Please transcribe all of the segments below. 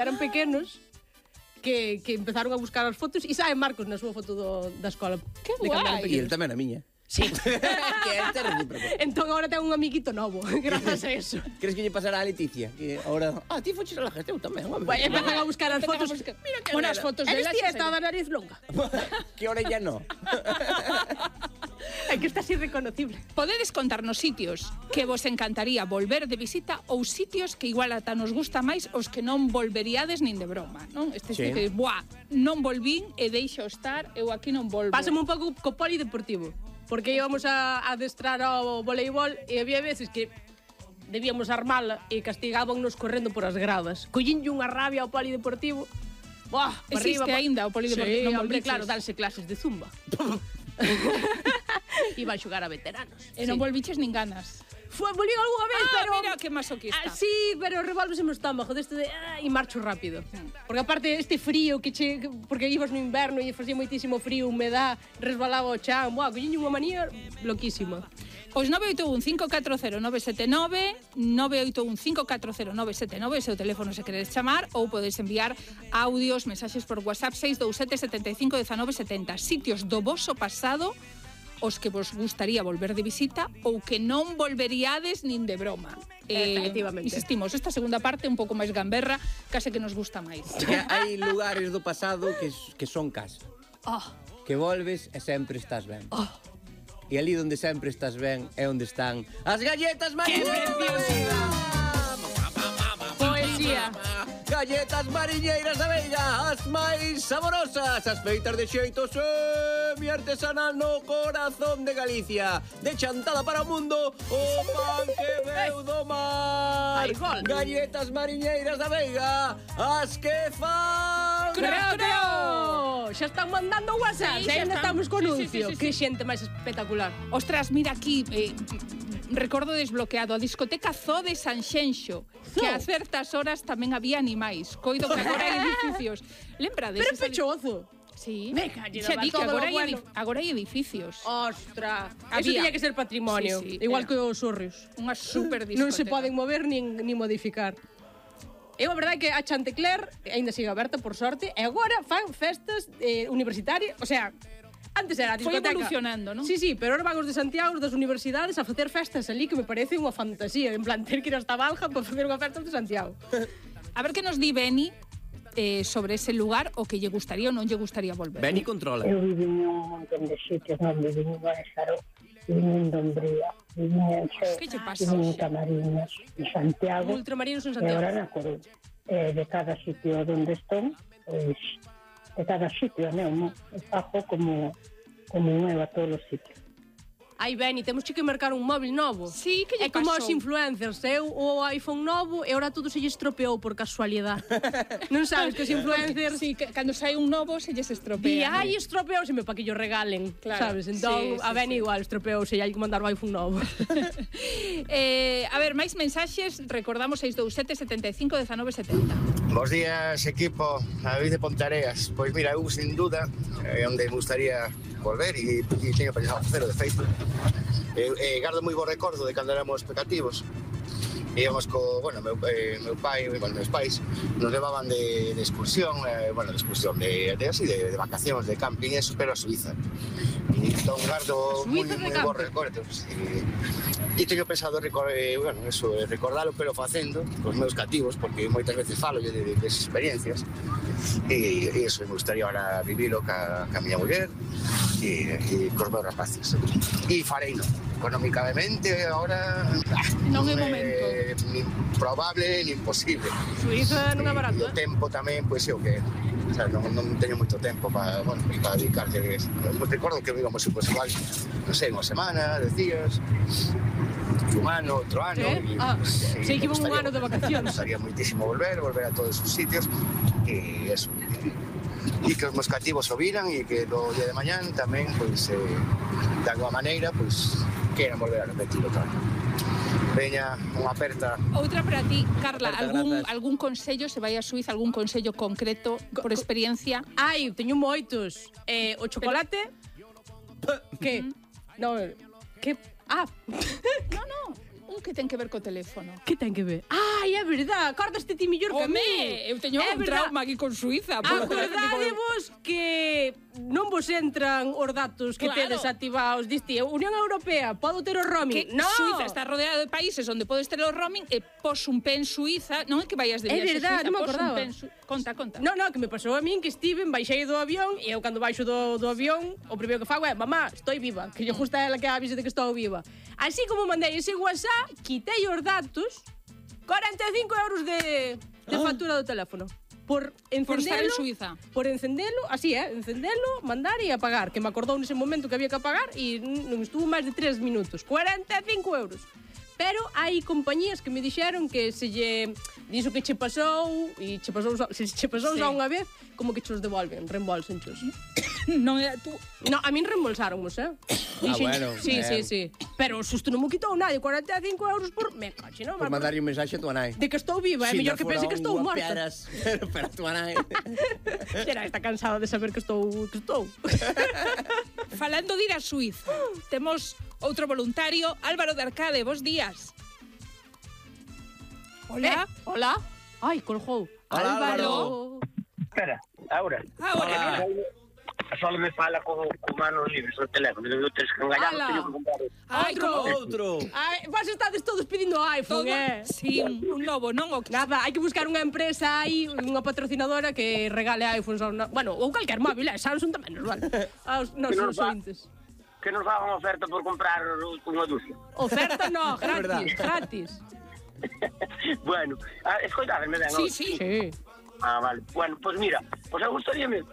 Eran pequenos que empezaron a buscar as fotos e sabe Marcos na súa foto da escola. Que guai! E el tamén a miña. Sí. Que é recíproco. Entón agora ten un amiguito novo, gracias a eso. Crees que lle pasará a Leticia? Que ahora, ti foches a la gente, eu tamén. Empezan a buscar as fotos. Mira que Unas fotos de Eres las... tía esta da nariz longa. Que orella no. É que está así reconocible. Podedes contarnos sitios que vos encantaría volver de visita ou sitios que igual ata nos gusta máis os que non volveríades nin de broma, non? Este Sí. que, non volvín e deixo estar, eu aquí non volvo. Pásame un pouco co polideportivo. Porque íbamos a adestrar ao voleibol e había veces que debíamos armala e castigábamos correndo por as gradas. Collínlle unha rabia ao polideportivo. Buah, Existe aínda o polideportivo? Sí, Non hombre, volviches? claro, danse clases de zumba. Iban a xogar a veteranos. E non volviches nin ganas. Volví algunha vez, pero... mira que masoquista. Sí, pero revolvese no estómago deste de... E marcho rápido. Porque aparte este frío que porque ibas no inverno e facía moitísimo frío, humedad, resbalaba o chan. Buah, collín unha manía loquísima. Pois 981-540-979, 981-540-979, ese é o teléfono se queredes chamar, ou podedes enviar audios, mensaxes por WhatsApp 627 75 19 70. Sitios do voso pasado os que vos gustaría volver de visita ou que non volveríades nin de broma. Efectivamente. Insistimos, esta segunda parte un pouco máis gamberra, case que nos gusta máis. Que hai lugares do pasado que son casa. Que volves e sempre estás ben. E ali onde sempre estás ben é onde están as galletas mariñeiras. Poesía. Galletas mariñeiras da Veiga, as máis saborosas, as feitas de xeito semi-artesanal no corazón de Galicia. De Chantada para o mundo, o pan que veu do mar. Ai, gol. Galletas mariñeiras da Veiga, as que fan... Creo! Xa están mandando WhatsApp, Sí, xa ainda están. estamos con Sí, anuncio. sí. Que xente máis espectacular. Ostras, mira aquí, recordo desbloqueado, a discoteca Zoo de Sanxenxo, que a certas horas tamén había animais. Coido que agora hai edificios. Lembrades? Pero pechozo. Sí. Me callo, Xa di que todo agora, lo bueno. agora hai edificios. Ostras, eso Había. tiña que ser patrimonio, Sí, igual era. que os sorrios. Unha super discoteca. Non se poden mover nin modificar. Eu a verdade é que a Chantecler aínda sigue aberta por sorte e agora fan festas universitarias, o sea, antes era a Foi discoteca. evolucionando, non? Sí, pero ahora van os de Santiago, os das universidades a facer festas ali que me parece unha fantasía, en plan ter que ir hasta Balja para facer unha festa de Santiago. A ver que nos di Beni sobre ese lugar o que lle gustaría ou non lle gustaría volver. Ven e controla. Eu viví en un montón de sitios, non viví en Guadalajara, viví en Dombría, viví en Xo, Que lle pasa? viví en Camariñas, en Santiago, Ultramarinos en e agora Santiago. na Coruña. De cada sitio onde estou, pois, de cada sitio, non? Fajo como eu a todos os sitios. Ai, Beni, temos que mercar un móvil novo. Sí, que lle É como pasou? os influencers, eu o iPhone novo e ahora todo se lle estropeou por casualidade. Non sabes que os influencers... Sí, que cando sai un novo se lles Di, estropea. ai, estropeouseme para que yo regalen, Claro, sabes? Entón, sí, a Beni igual estropeouse e hai que mandar o iPhone novo. A ver, máis mensaxes, recordamos 627 75 19 70. Bos días, equipo, David de Pontareas. Pois mira, eu sin duda onde me gustaría volver e teño pensado facelo de feito. Gardo moi bo recordo de cando éramos pecativos. Íbamos meu pai, meus pais nos levaban de excursión, de vacacións, de camping, eso, pero a Suiza. Entón gardo moi bo recordo. E teño pensado recordalo, pero facendo cos meus cativos, porque moitas veces falo de experiencias. E iso me gustaría ahora vivilo ca miña muller e cos meus rapaces. E fareino. Económicamente agora Non é momento. Nin probable nin imposible. Suiza non é barato, O tempo tamén, pois é o que o sea, non teño moito tempo para dedicarle. Recordo que íbamos igual, non sei, unha semana, 10 días, un ano, outro ano. Sei que iba un ano de vacacións. Me gustaría moitísimo volver a todos os sitios e eso. E que os meus cativos o viran e que do día de mañán tamén, pois, de alguma maneira, pois, queiran volver a repetir outra vez. Veña, unha aperta. Outra para ti, Carla, Aperta, algún consello, se vai a Suiza, algún consello concreto por experiencia? Ai, teño moitos. O chocolate... Que? No, que... Ah, No, un que ten que ver co teléfono. Que ten que ver? Ai, é verdad, acordaste ti mellor que a mí. Eu teño un trauma aquí con Suiza. Acordadevos que non vos entran os datos que tedes activados. Diste, Unión Europea, podo ter o roaming? Que No. Suiza está rodeada de países onde podes ter o roaming e pos un pé en Suiza, non é que vayas de É viaxe verdad, a Suiza, non me pos un acordaba. pé en Conta. No, que me pasou a min que estiven, baixei do avión e eu cando baixo do avión o primeiro que fago é mamá, estou viva, que lle gusta a ela que avise de que estou viva. Así como mandei ese WhatsApp, quitei os datos, 45 euros de factura do teléfono. Por encendelo, estar en Suiza. Por encendelo, así encendelo, mandar e apagar, que me acordou nese momento que había que apagar e non estuvo máis de 3 minutos. 45 euros. Pero hai compañías que me dixeron que se lle dixo que che pasou e se che pasou Sí. xa unha vez, como que chos devolven, reembolsenchos. Non é tú. No, a min reembolsáramos, Dixen, bueno, sí. Pero o susto non me quitou nadie, 45 euros por... Me cache, non? Por mandarlle un mensaxe a tua nai. De que estou viva, é mellor que pense que estou morta. Pero a tua nai... Será, está cansada de saber que estou... Falando de ir a Suiza, temos outro voluntario, Álvaro de Arcade, bos días. Hola. Hola. Ai, colgou. Hola, Álvaro. Espera, ahora. Ahora. Só me fala con manos libres no teléfono. Eu tens que engañar, Ala. teño que comprar. Ai, como... Outro. Ai, vos estades todos pedindo iPhone, Todo... Sí, un lobo, non? O que... Nada, hai que buscar unha empresa aí, unha patrocinadora que regale iPhones ao... Bueno, ou calquer móvil, Samsung tamén nos vale. Aos nosos ointes. Que nos fagan oferta por comprar unha dúcia. Oferta no, verdad. gratis. Bueno, escoitadme ben. Sí. Vale. Bueno, pues mira, pues eu gustaríame,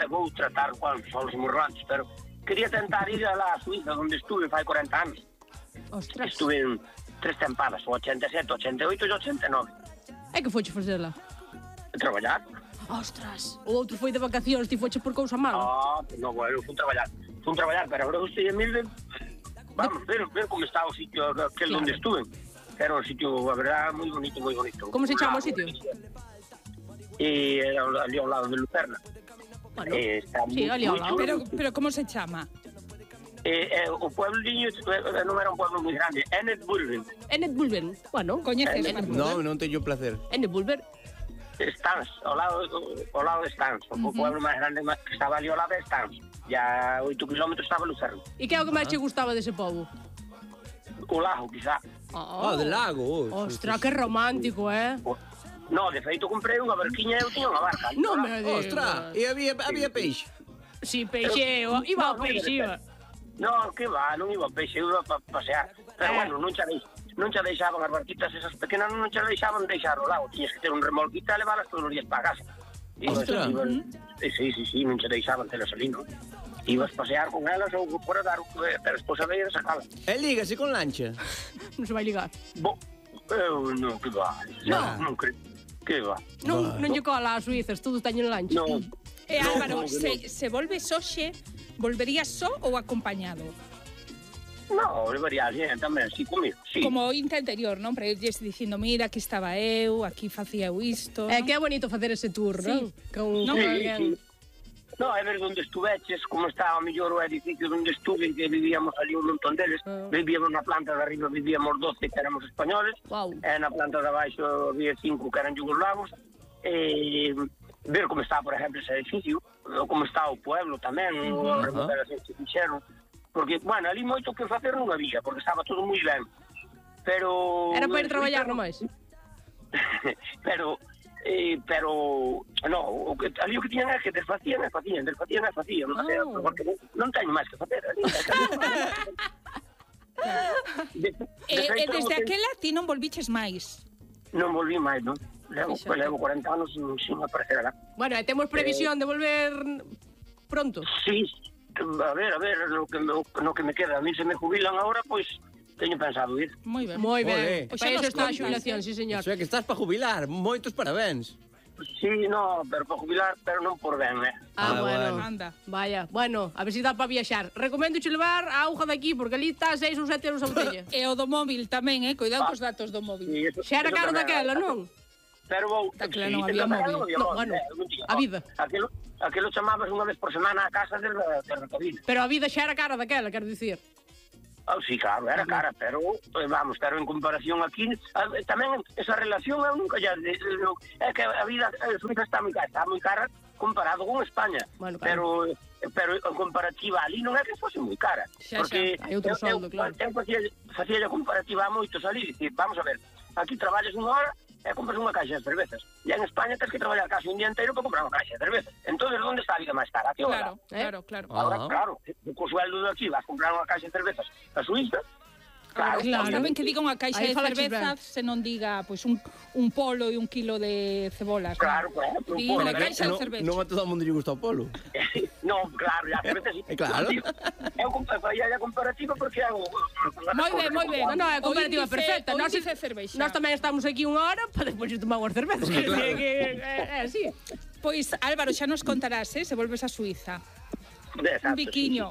vou tratar con os morrantes, pero quería tentar ir a la Suiza, onde estuve fai 40 anos. Ostras. Estuve en 3 tempadas, o 87, 88 e 89. É que foche facela? Traballar. Ostras. O outro foi de vacacións, ti foche por cousa mala. No, bueno, fui traballar, pero agora gostei mil de... Vamos, ver como está o sitio aquel Claro. onde estuve. Era un sitio, a verdad, moi bonito, moi bonito. Como se chama o sitio? E era ali ao lado de Lucerna. Bueno, Está sí, ali ao moi lado. chulo. Pero como se chama? O puebliño non era un pueblo moi grande, Ennetbulben. Ennetbulben. Bueno, Coñeces? Non teño placer. Ennetbulben. Stans, ao lado de Stans. O pueblo máis grande que estaba ali ao lado de Stans. Ya 8 kilómetros estaba Lucerna. E que é o que máis che gustaba dese pobo? O lago, quizá. Del lago. Ostras, que romántico, No, de feito comprei unha barquiña e eu tiña unha barca. Non me digas. Ostras, e había peixe. Si, peixe, iba ao peixe, iba. No, que va, non iba ao peixe, iba a pasear. Pero bueno, non xa deixaban as barquitas esas pequenas, non xa deixaban deixar o lago. Tiñas que ter un remolquita e leválas todos os días para casa. Ostras. Sí, non xa deixaban telas ali, non? Ibas pasear con elas ou por a dar, pero despois a ver a sacalas. E lígase con lancha. Non se vai ligar. Eu non, que va. Non creo. Que va. Non lle cola a Suizas, todos teñen lancha. Non. Álvaro, no. se volves hoxe, volverías só ou acompañado? No, levaría alguén tamén, sí, comigo, sí. Como ointe anterior, non? Para irles dicindo, mira, aquí estaba eu, aquí facía eu isto, É non? que é bonito facer ese tour, Sí. non? Con Sí, alguén. sí. No, é ver onde estuveches, como estaba mellor o edificio onde estuve, que vivíamos ali un montón deles. Vivíamos na planta de arriba, vivíamos 12 que éramos españoles. Guau. E na planta de abaixo había 5 que eran yugoslavos. E ver como está, por exemplo, ese edificio, ou como está o pueblo tamén, as remodelacións que fixeron. Porque, bueno, ali moito que facer non había, porque estaba todo moi ben. Pero... Era para ir traballar nomais. pero no, ali o que tiñan é que desfacían, porque non teño máis que facer ali. E desde aquela ti non volviches máis. Non volví máis, non? Levo 40 anos sin aparecer alá. Bueno, e temos previsión de volver pronto. Sí, a ver, no que me queda. A mí se me jubilan agora, pois teño pensado ir. Moi ben. Moi Olé. ben. Pois Para xa iso nos está a contas, xubilación, sí, señor. Iso é que estás para jubilar. Moitos parabéns. Sí, no, pero para jubilar, pero non por ben, Ah, bueno. bueno. Anda. Vaya, bueno, a ver se dá para viaxar. Recomendo che levar a auga daqui, porque ali está 6 ou 7 euros a botella. E o do móvil tamén, cuidado cos datos do móvil. Sí, eso- Xa era eso caro tamén daquela, era. non? Pero vou... Está claro, non sí, había tamén móvil. No, bueno, non tiña. a vida. Aquilo chamabas unha vez por semana a casa de recabina. Pero a vida xa era cara daquela, quero dicir. Sí, claro, era cara, pero vamos, pero en comparación aquí tamén esa relación eu nunca ya é que a vida suiza está moi cara comparado con España, bueno, claro. pero en comparativa ali non é que fose moi cara, porque hai outro soldo, claro. Eu facía a comparativa a moitos ali, dicir, vamos a ver, aquí traballas unha hora e compras unha caixa de cervezas. E en España tens que traballar casi un día inteiro para comprar unha caixa de cervezas. Entonces, onde está a vida máis cara? Aquí ahora? Claro. Ahora, claro, co sueldo de aquí vas comprar unha caixa de cervezas a Suiza. Claro. Está ben que diga unha caixa de cervezas se non diga pois un polo e 1 kilo de cebolas. Claro, Diga unha caixa de cervezas. Non a todo o mundo lle gusta o polo. Non, claro, a cerveza sí. Claro. Eu faía a comparativa porque hago... Moi ben. Non, é a comparativa perfecta. Nós tamén estamos aquí unha hora para despois tomar unhas cervezas. É así. Pois, Álvaro, xa nos contarás, se volves a Suiza. Un biquiño.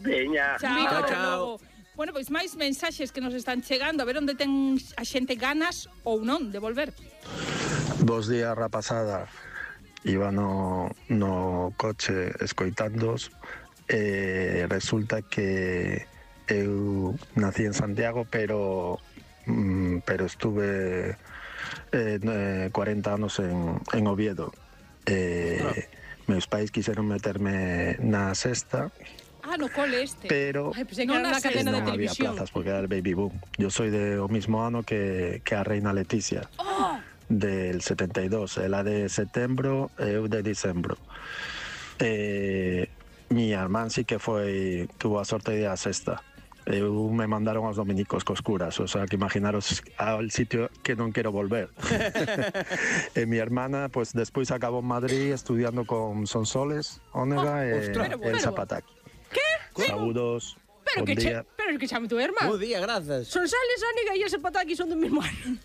Veña. Chao. Bueno, pois máis mensaxes que nos están chegando, a ver onde ten a xente ganas ou non de volver. Bos días, rapazada. Iba no coche escoitándos e resulta que eu nací en Santiago, pero estuve 40 anos en Oviedo. Meus pais quixeron meterme na sexta. No cole este. Pero non había plazas porque era el baby boom. Yo soy de o mismo ano que a reina Leticia. Del 72. Ela de setembro e eu de dicembro. Mi irmán sí que tuvo a sorte de a sexta. Eu me mandaron aos dominicos cos curas, o sea, que imaginaros al sitio que non quero volver. E mi hermana, pues despois acabou en Madrid estudiando con Sonsoles, Ónega e el Zapataki. ¿Qué? Saludos. Pero que chame tu irmán. Bo día, grazas. Sonsoles, Ónega e ese Zapataki son do mesmo ano.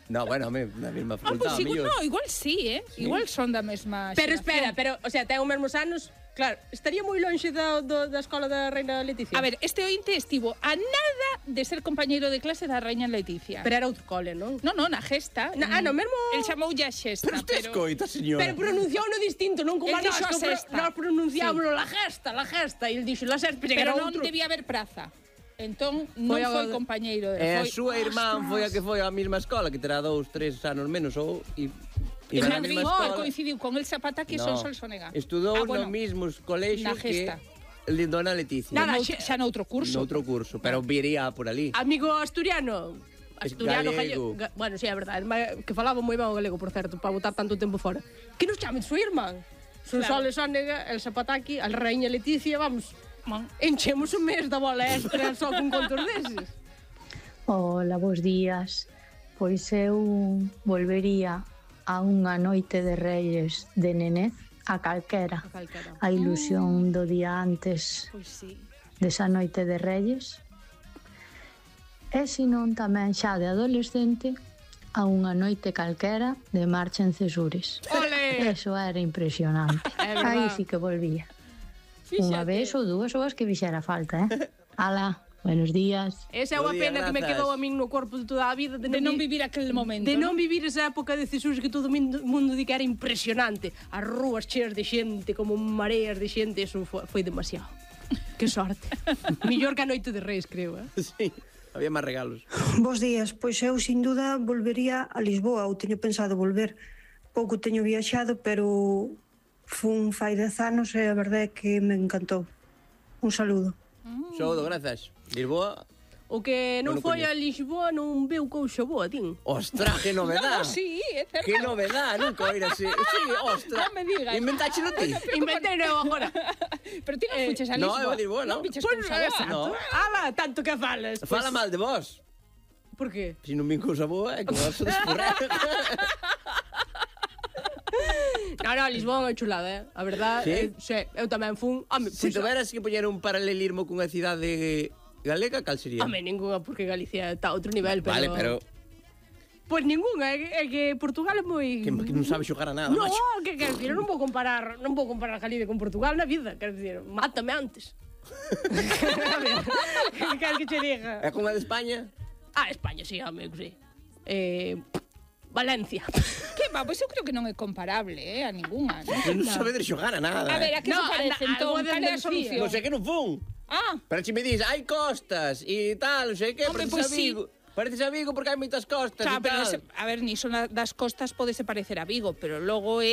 No, bueno, na mesma facultad. Igual sí, Igual son da mesma xeración. Pero espera, o sea, ten os mesmos anos. Claro, estaría moi lonxe da escola da reina Leticia. A ver, este ointe estivo a nada de ser compañeiro de clase da reina Leticia. Pero era outro cole, non? Non, na Gesta. No mesmo... El chamoulle a Xesta. Pero usted escoita, señora. Pero pronunciou-no distinto, non como a nós, que nós pronunciámoslo la Gesta, e el dixo la Sexta, pero non debía haber praza. Entón, non foi compañeiro de... E a súa irmán foi a que foi á mesma escola, que terá 2, 3 anos menos, ou... coincidiu con el Zapataki e Sonsoles Ónega. Estudou no mismos colexios que Dona Leticia. Xa noutro curso. Noutro curso, pero viría por ali. Amigo asturiano. Gallego. Bueno, sí, é verdade. Que falaba moi ben o galego, por certo, para botar tanto tempo fora. Que nos chame de súa irmán. Sonsoles Ónega, el Zapataki, a reina Leticia, vamos... Enchemos un mes da bola extra só con contos deses. Hola, bons días. Pois eu volvería a unha noite de Reyes de nenez a calquera. A ilusión do día antes desa noite de Reyes. E senón tamén xa de adolescente a unha noite calquera de marcha en Cesures. Ole! Eso era impresionante. Aí sí que volvía. Unha vez ou dúas ou as que fixera falta, Ala, buenos días. Esa é unha pena que me quedou a min no corpo de toda a vida de non vivir aquel momento. De non vivir esa época de Cesures que todo o mundo di que era impresionante. As rúas cheas de xente, como mareas de xente, eso foi demasiado. Que sorte. Millor que a noite de Reis, creo, Sí, había máis regalos. Bos días, pois eu sin duda volvería a Lisboa, ou teño pensado volver. Pouco teño viaxado, pero fun fai 10 anos e a verdade é que me encantou. Un saludo. Saúdo, grazas. Lisboa... O que non foi a Lisboa non veu cousa boa, tin. Ostras, que novedad. Sí, é certo. Que novedad, nunca oíra así. Sí, ostras. Non me digas. Inventáchelo ti. Inventei eu agora. Pero ti non fuches a Lisboa. No, eu a Lisboa, non. Non viches cousa boa. No. Ala, tanto que falas. Fala mal de vos. Por que? Se non vin cousa boa, é que vos descurrar. No, Lisboa é chulada, A verdade, eu tamén fun... Se tuveras que poñer un paralelismo cunha cidade galega, cal sería? Ninguna, porque Galicia está a outro nivel, pero... Vale, pero... Pois ninguna, é que Portugal é moi... Que non sabe xogar a nada, no, macho. No, que quero dicir, non vou comparar Galicia con Portugal na vida, quero dicir, mátame antes. Que quero que che diga? É como a de España? España, sí, amigo, sí. Valencia. Que va, pois eu creo que non é comparable, a ninguna. Non sabe de xogar a nada. A ver, a que se parece, entón, cal é a solución? Non sei que non fun. Pero si me dis, hai costas e tal, non sei que, Hombre, pareces pois a Vigo. Pareces a Vigo porque hai moitas costas e Claro, pero tal. a ver, niso das costas podese parecer a Vigo, pero logo é